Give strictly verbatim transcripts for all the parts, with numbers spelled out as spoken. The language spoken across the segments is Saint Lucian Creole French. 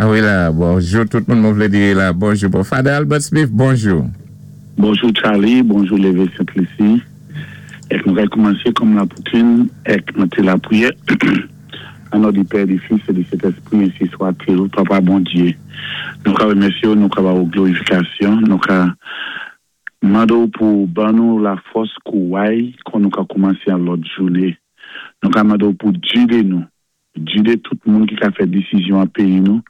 Ah wi la, bonjou tout moun, mwen vlé di la, bonjou. Bon, Father Albert Smith, bonjou. Bonjou Charlie, bonjou Lévé Sainte-Lucie. Èk nou kay koumansé kòm lakoutim, èk mété lapriyè. An non di Pè, di Fis é di Sentèspwi, ensi swa-t-il, Papa Bondyé. Nou ka wémèsyé ou, nou ka ba ou glorifikasyon, nou ka mandé ou pou ban nou lafòs kouway kon nou ka koumansé an lòt jouné. Nou ka mandé ou pou gidé nou, gidé tout moun ki ka fè désizyon an péyi nou.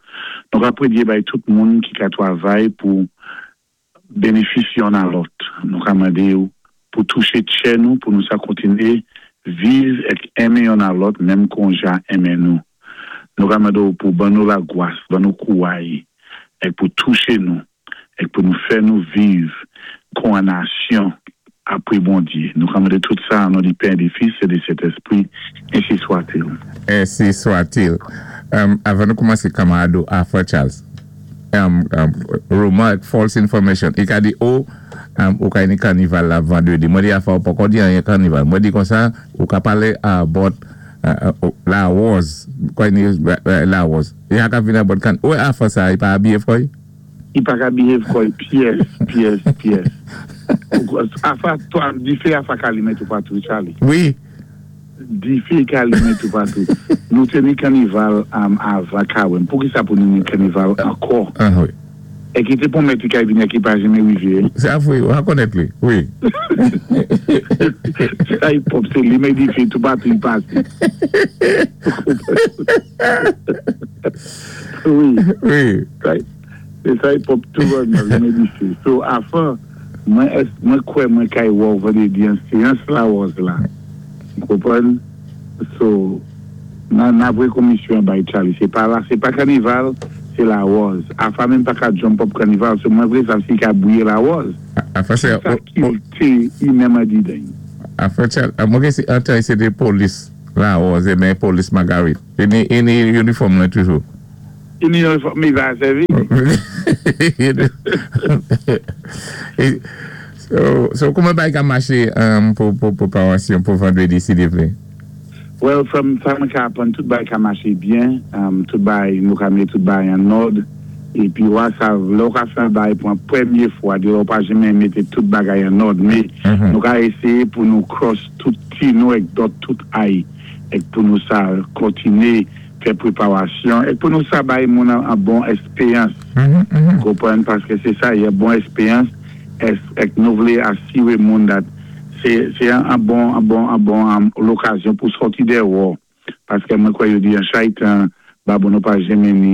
Nou ka prédyé bay tout moun ki ka twavay pou bénéfis yonn a lòt. Nou ka mandé ou pou touché tchè nou, pou nou sa kontiné viv èk enmen yonn a lòt, menm kon Jah enmen nou. Nou ka mandé ou pou ban nou lagwas, ban nou kouway, èk pou touché nou, èk pou nou fè nou viv kon an nasyon apwé Bondyé. Nou ka mandé tout sa an non di Pè, di Fis é di Sentèspwi, ensi swa-t-il. Ensi swa-t-il. Um, avan nou koumansé kanmarad Arthur Charles, um, um, rumor, false information, i ka di, oh, um, ou ka ni kanival la vandwédi. Mwen di afa ou poko di anyen kanival. Mwen di kon sa, ou ka palé about uh, uh, Larose, kwa ni uh, Larose. I ha ka vin about kan, ou afa sa, i pa abiye froy? I pa ka behave kò'y pyès, pyès, pyès. Afa, toi, difé afa ka limen toupatou, Charlie. Wi. Difé ka limen toupatou. Nou té ni kanival um, avan kawèm. Pou ki sa pou nou ni kanival ankò? Ah, wi. É ki té pwomèt ki kay vini ki pa janmen wivé. Sé afwe, ou ha konnèt li, wi. Sa i pop, sé limen difé toupatou i pasé. Wi. Wi. Sa sé sa i pop tou nan limen difé. So, afa, mwen es, mwen kwè mwen kay wò vandwédi an séyans Larose la. Konpwann? So, nan nan vwé komisyon bay Charlie. Sé pa la, sé pa kanival, sé Larose. Afa menm pa ka jump up kanival, so mwen vlé sav si ka bwiyé Larose. Afa sé, Sa kilte i menm a di den. Afa Charles, mwen gen si antan sé de polis Larose, men polis Margaret. I ni, i ni uniform lan toujou. I ni uniform, mi va sèvi. E- So, so kouman bay ka maché um, pou, pou préparasyon pou vandwédi si Dye vlé? Well, from sa mwen ka apwann, tout bay ka maché byen, um, tout bay nou ka mé tout bay an òd, épi wè sa, lè ou ka fè an bay pou an pwémyé fwa, di ou pa janmen mété tout bagay an òd, mé Mhm. nou ka éséyé pou nou cross tout T nou èk dot tout I, èk pou nou sa kontiné fè préparasyon, èk pou nou sa bay moun an, an bon èspéyans. Mhm, mhm. Konpwann, paské sé sa, y a bon èspéyans, ès, èk nou vlé asiwé moun that sé, sé an, an bon, an bon, an bon an, lokazyon pou sòti déwò. Paské mwen kwè yo di an chaytan, Babonneau pa janmen ni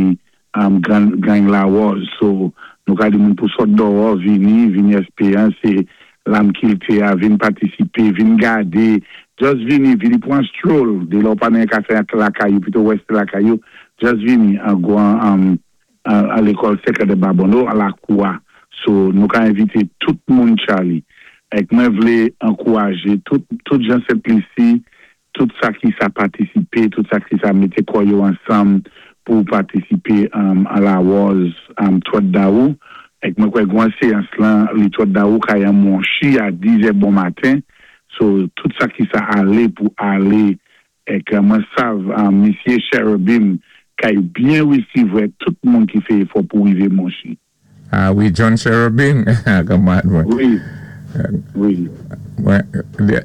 um, gran, gang Larose. So, nou ka di moun pou sòt dèwò, vini, vini èspéyans, sé lam kilté a, vin patisipé, vin gadé, just vini, vini pou an stroll, de lò pa nen ka fè lakay ou, pito west lakay ou, just vini an gwan, um, a, a lékòl sékondè Babonneau, a lakou a. So, nou ka envité tout moun Charlie. Èk mwen vlé ankourajé tout, tout jan Sent-Lisi, tout sa ki sa patisipé, tout sa ki sa mété kò yo ansanm pou patisipé um, a Larose um, twant dawou. Èk mwen kwè gwan séyans lan, li twant dawou kay an Monchi a dizè bon maten. So, tout sa ki sa alé pou alé, èk mwen sav um, Misyé Cherubim kay byen wésivwè tout moun ki fè éfò pou wivé Monchi. Ah wi, John Cherubim, kanmarad mwen. Wi, wi. Mwen,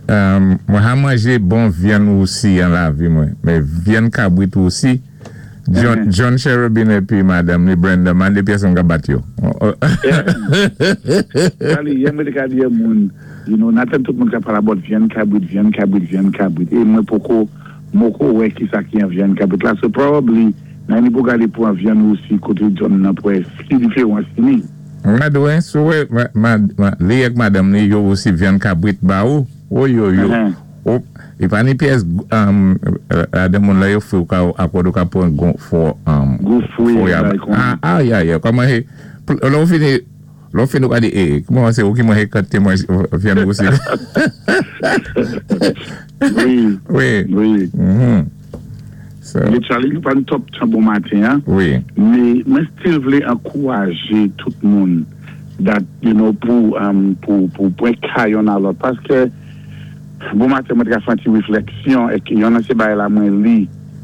um, mwen ha manjé bon vyann wousi an lavi mwen, mé vyann kabwit wousi, John, Mhm. John Cherubim épi madanm ni Brenda, man de pyès an ka bat yo. Charlie, yè mwen te ka di moun, you know, natan tout moun ka pala about vyann kabwit, vyann kabwit, vyann kabwit. É mwen poko, moko wè ki sa ki an vyann kabwit la. So probably, nan ni pou gade pou an vyann wousi koté John nan pou wè ki diferans ni. Mwen dwe, sou wè, ma, ma, ma, li ek madanm ni yo wousi vyann kabwit ba ou, ou yo yo. Mhm. Ou, i pa ni pyès, um, a de moun la yo fwe ou ka, akòd ou ka pwan gon fò, um, Gou fwe, fò ya. bay kon. Ah, ah, ya, ya, kòman he, lò ou fini, lò ou fini ou ka di, eh, kouman sé ou ki mwen he kante mwen vyann wousi. Wi, Wi. wi. Mhm. So, Mé Charlie, nou pa nou top tan bon maten, an. wi. Mé mwen still vlé ankourajé tout moun that, you know, pou, um, pou, pou, pou ka yonn a lòt. Paské, bon maten mwen te ka fè an ti wéflèksyon, é ki yonn nan sé bay la mwen li,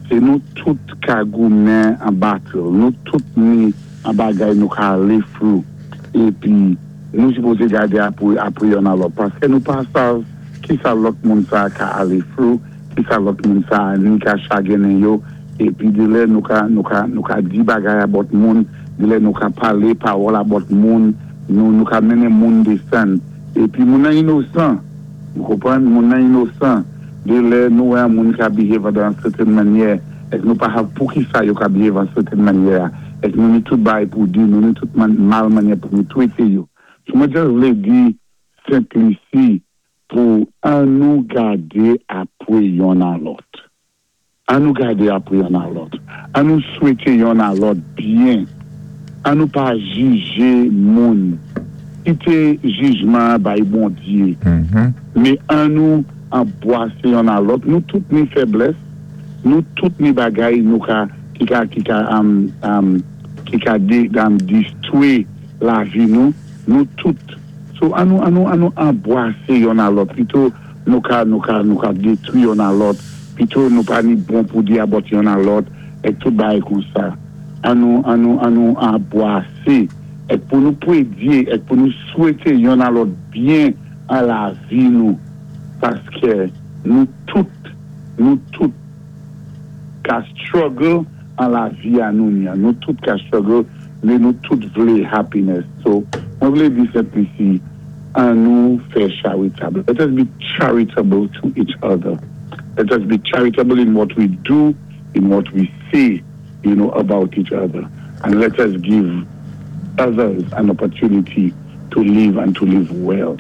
Sé nou tout ka goumen an battle, nou tout ni an bagay nou ka alé through. Épi, nou sipozé gadé apwé, apwé yonn a lòt. Paské nou pa sav ki sa lòt moun sa ka alé through, ki sa lòt moun sa ni ka chagwénen yo, épi dé lè nou ka, nou ka, nou ka di bagay about moun, dé lè nou ka palé pawòl about moun, nou, nou ka mennen moun désann. Épi moun nan inosan, nou konpwann, moun nan inosan, dé lè nou wè moun ka behave dan sètèn mannyè, èk nou pa sav pou ki sa yo ka behave an sètèn mannyè, èk nou ni tout bay pou di, nou ni tout man, mal mannyè pou nou twété yo. So mwen just vlé di Sent Lisi pou an nou gadé apwé yonn a lòt. An nou gadé apwé yonn a lòt. An nou swété yonn a lòt byen. An nou pa jijé moun. Kité jijman bay Bondyé. Mhm. Mé an nou anbwasé yonn a lòt. Nou tout ni fèblès, nou tout ni bagay nou ka, ki ka, ki ka, um, um, ki ka dé, um, distwé lavi nou, nou tout. So an nou, an nou, an nou anbwasé yonn a lòt. Pito nou ka, nou ka, nou ka détwi yonn a lòt. Pito nou pa ni bon pou di about yonn a lòt, èk tout bagay kon sa. An nou, an nou, an nou anbwasé. Èk pou nou pwédyé, èk pou nou swété yonn a lòt byen an lavi nou. Paské nou tout, nou tout ka struggle an lavi a nou ni. Nou tout ka struggle, mé nou tout vlé happiness. So, mwen vlé di Sent Lisi, an nou fè charitable. Let us be charitable to each other. Let us be charitable in what we do, in what we say, you know, about each other. And let us give others an opportunity to live and to live well.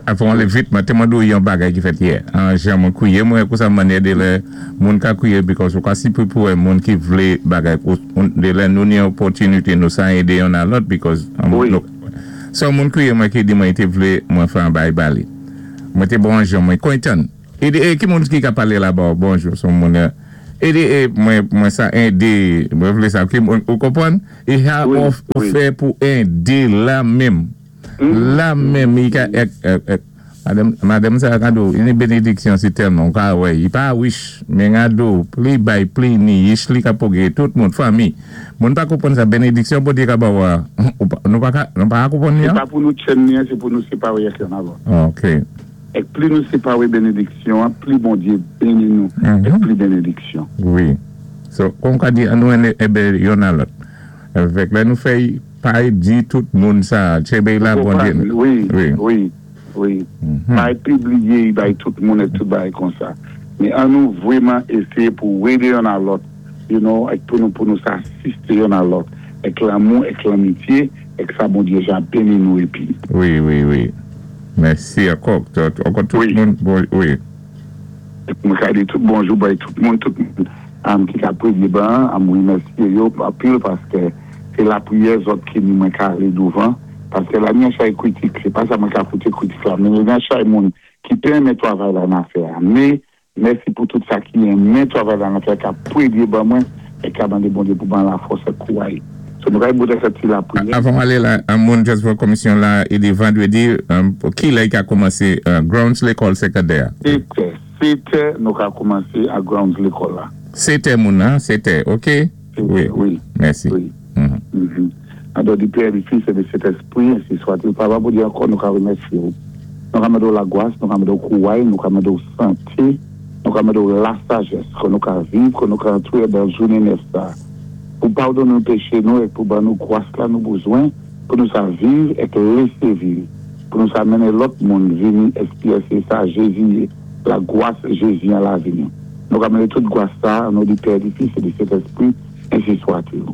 Avan alé vit, mwen té mande ou yon bagay ki fèt yè. An jan mwen kwiye, mwen kou sa manyè dé lè moun ka kwiye because ou ka si pou pou moun ki vlé bagay, ou, dé lè nou ni opòtinité nou sa édé yonn a lòt because Wi. nou, so moun kwiye mwen ki di mwen té vlé mwen fè an bay bali. Mwen té bonjou, mwen kontan. E di, e ki moun ki ka palé la ba, bonjou, son moun e di, e mwen, mwen sa édé, mwen vlé sa, ki moun, ou konpwann? E ha Wi, ou, ou wi. fè pou édé la menm. La menm, i ka, ek, ek, ek, madame, madame sa gado, ini bénédiction si tellement, ka wè, i pa wish, men gado, pli bay, pli ni, yish li ka poge, tout moun, fami. Moun pa konpwann sa bénédiction pou di ka ba wa, ou pa, nou pa ka, nou pa konpwann ni Sé an? pa pou nou tchenn ni, sé pou nou séparé ak yonn a lòt. Ok. Èk pli nou séparé bénédiksyon, pli Bondyé béni nou, Mhm. èk pli bénédiksyon. Wi. So, kon ka di, an nou ene ebe yon a lòt. Avèk lè nou fè, pa di tout moun sa, tchébé la Bondyé. Wi, Wi. wi, wi. Mhm. Pa pibliyé bay tout moun èk tout bagay kon sa. Mé an nou vwèman ésyé pou édé yonn a lòt, you know, èk pou nou pou nou asisté yonn a lòt, èk lanmou, èk lanmityé, èk sa Bondyé ja béni nou épi. Wi, wi, wi. Mèsi ankò. Ankò tout Wi. moun, bon, wi. Mwen ka di tout bonjou bay tout moun, tout moun am, ki ka pwédyé ban, am wimèsyé yo anpil paské sé lapriyè zòt ki ni mwen ka alé douvan, paské la ni an chay kritik, sé pa sa mwen ka kouté kritik la, mé ni an chay moun ki pé renmen twavay la nan fè a. Mé, mèsi pou tout sa ki renmen twavay la nan fè, ka pwédyé ban mwen, é ka mandé Bondyé pou ban lafòs é kouway. So nou ka boutè fè ti lapriyè. Avan alé la, an moun just pou komisyon la, i di vandwédi, um, ki lè i ka kòmansé uh, grounds lékòl sékondè? Sétè, sétè nou ka kòmansé a grounds lékòl la. Sétè moun nan, sétè, ok? Wi. Wi. Mèsi. Wi. Mhm. Mhm. An non di Pè, di Fis é di Sentèspwi, ensi swat-il. Papa, pou di ankò, nou ka wimèsyé ou. Nou ka mandé ou lagwas, nou ka mandé ou kouway, nou ka mandé ou santé, nou ka mandé ou lasajès, ke nou ka viv, ke nou ka antré dan jounen nèf sa. Pou padoné nou péché nou, é pou ban nou gwas la nou bezwen, pou nou sa viv é lésé viv. Pou nou sa mennen lòt moun vini èksperyensé sa Jézi, lagwas Jézi an lavi nou. Nou ka mandé tout gwas sa, an non di Pè, di Fis é di Sentèspwi, ensi swat-il.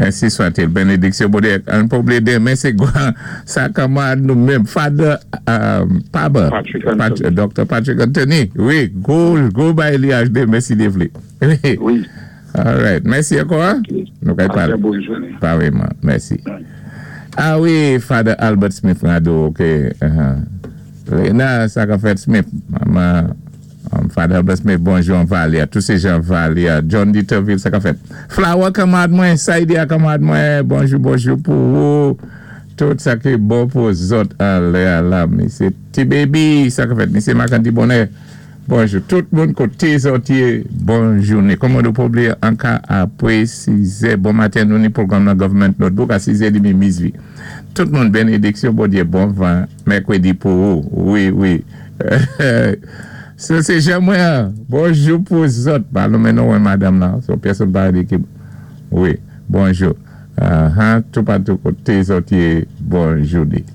Ensi swat-il. Bénédiksyon Bondyé. An pa oubliyé denmen, sé kwa, sa kanmad nou menm, Father, um, Papa, Patrick Anthony. Pat- Doctor Patrick Anthony. Wi, go, go bay li aj denmen si Dye vlé. Wi. Wi. All right. Mèsi ankò. Ok. Nou kay Pasé palé. bòn jounen. Pareillement. Mèsi. Bye. Ah wi, Father Albert Smith Rado, ok. Uh-huh. Lena, sa ka fèt Smith. Mama, um, Father Albert Smith, bonjou an Valia. Tout sé jan Valia. John Dieterville, sa ka fèt. Flower kanmad mwen, Saidia kanmad mwen, bonjou, bonjou pou ou. Tout sa ki bon pou zòt an lè a la. Missy T-Baby, sa ka fèt. Missy Makandi Bonè. Bonjou, tout moun koté zòt yé, bon jouné. Kòman nou pa blié anka apwé sizè, bon maten nou ni pwogram nan Government Notebook a sizè demi mizwi. Tout moun benediksyon Bondyé bon van mèkwédi pou ou. Wi, wi. Sa sé jan mwen. Bonjou pou zòt. Pa nonmen non madanm la. So pèsonn pa di ki wi, bonjou. Uh-huh. Toupatou koté zòt yé, bon jouné.